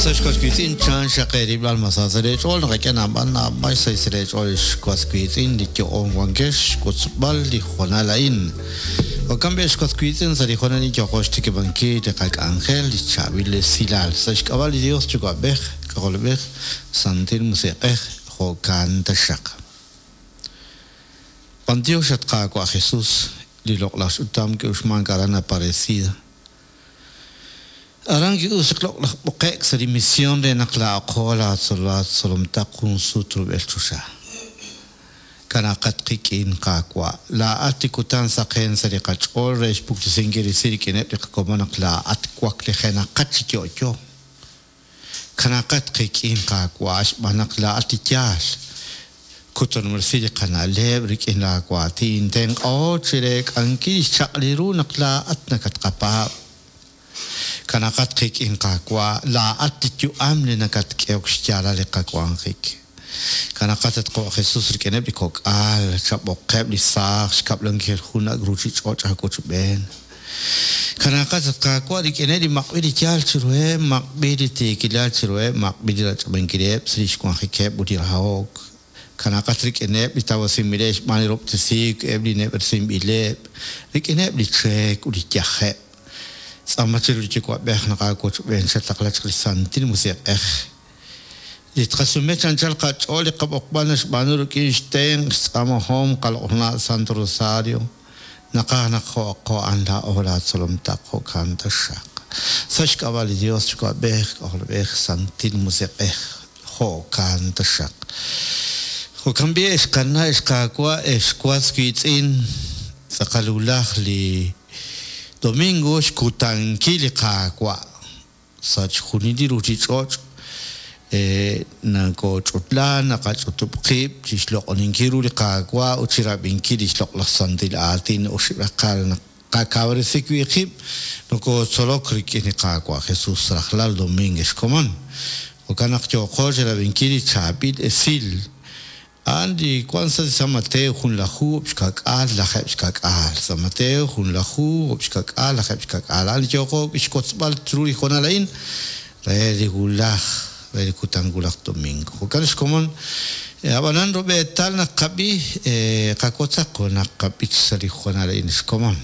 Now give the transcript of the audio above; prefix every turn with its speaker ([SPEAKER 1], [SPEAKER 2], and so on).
[SPEAKER 1] Us ex was wiitz'in, chan xaq eerilb'al ma sa sa' leech'ool naqak'e naab'al naab'al xsahil sa' leech'ool ex was wiitz'in li yo'oon wankex xwotzb'al li hoonal a'in. Jo'kan b'i' ex was wiitz'in sa' li hoonal a'in yooqo xtikib'ankil li qak'anjel li chaab'il esilal sa' xk'ab'a' li Dios Yuwa'b'ej, K'ajolb'ej, Santil Musiq'ej, jo'kan taxaq. B'antiox at Qaawa' Jesus, li loq'laj ch'utam ki'uxmank aran Aparecida. Aran ki'uxk loq'laj b'oqe'k sa' li mision re naq laa'aqo laatzolomtaq jun sut rub'el choxa. Kanaqat qik'in, Qaawa', laa'at li kutan saqen sa' li qach'ool re xpuktesinkil resil rik'ineb' li qakomon naq laa'at waklijenaqat chi yo'yo. Kanaqat qik'in, Qaawa', xb'aan naq laa'at li yaal. Kutanob'resi li qana'leb' rik'in laawaatin, tenq'aho chi reek'ankil li xchaq'alil ru naq laa'at nakatqapaab'. Kanaqat qik'in, Qaawa', laa'at li yu'am li nakatk'ehok xyaalal li qawanjik. Kanaqat, at Qawa' Jesus, rik'ineb' li kok'al, chab'oqeb' li saaj xkab'lankil jun ak' ruuchich'och' aawochb'een. Kanaqat, at Qaawa', rik'ineb' li maq'b'il li yaal chiruheb', maq'b'il li tiikilal chiruheb', maq'b'il li rach'ab'ankileb' sa' lix wanjikeb' ut li rahok. Kanaqat rik'ineb' li tawasinb'ileb' xb'aan li rob'tesiik, eb' li neb'ersinb'ileb', rik'ineb' li cheek ut li yajeb'. Tz'aama chiru li Yuwa'b'ej naq aawochb'een chataqla chaq li Santil Musiq'ej. Li tqasume chi anchal qach'ool li qab'oqb'al naxb'aanu rik'in xtenq' xtz'aamahom qaloq'laj Santo Rosario, naqaj naq jo'aqo a'an laa'o laatzolom taq jo'kan taxaq. Sa' xk'ab'a' li Dios Yuwa'b'ej, K'ajolb'ej, Santil Musiq'ej, jo'kan taxaq. Jo'kan b'i' ex qana', ex qaawa', ex was wiitz'in, tz'aqal wulaj li domingo xkutankil li Qaawa'. Sa' chixjunil li ruuchich'och' nakooch'utla, naqach'utub' qib' chi xloq'oninkil ru li Qaawa' ut chi rab'inkil li xloq'laj santil aatin oxib' raqal naq qakawresi wi' qib' nokootzolok rik'in li Qaawa' Jesus rajlal domingo ex komon. Jo'kan naq yooqo chi rab'inkil li chaab'il esil A'an li wank sa' San Mateo junlaju xka'k'aal lajeeb' xka'k'aal. San Mateo junlaju xka'k'aal lajeeb' xka'k'aal. A'an li yooqo xwotzb'al chiru li hoonal a'in re li wulaj, re li kutan wulaj domingo. Jo'kan xkomon, ab'anan rub'eetal naq qab'i, qawotzaq junaq qab'ich sa' li hoonal a'in xkomon.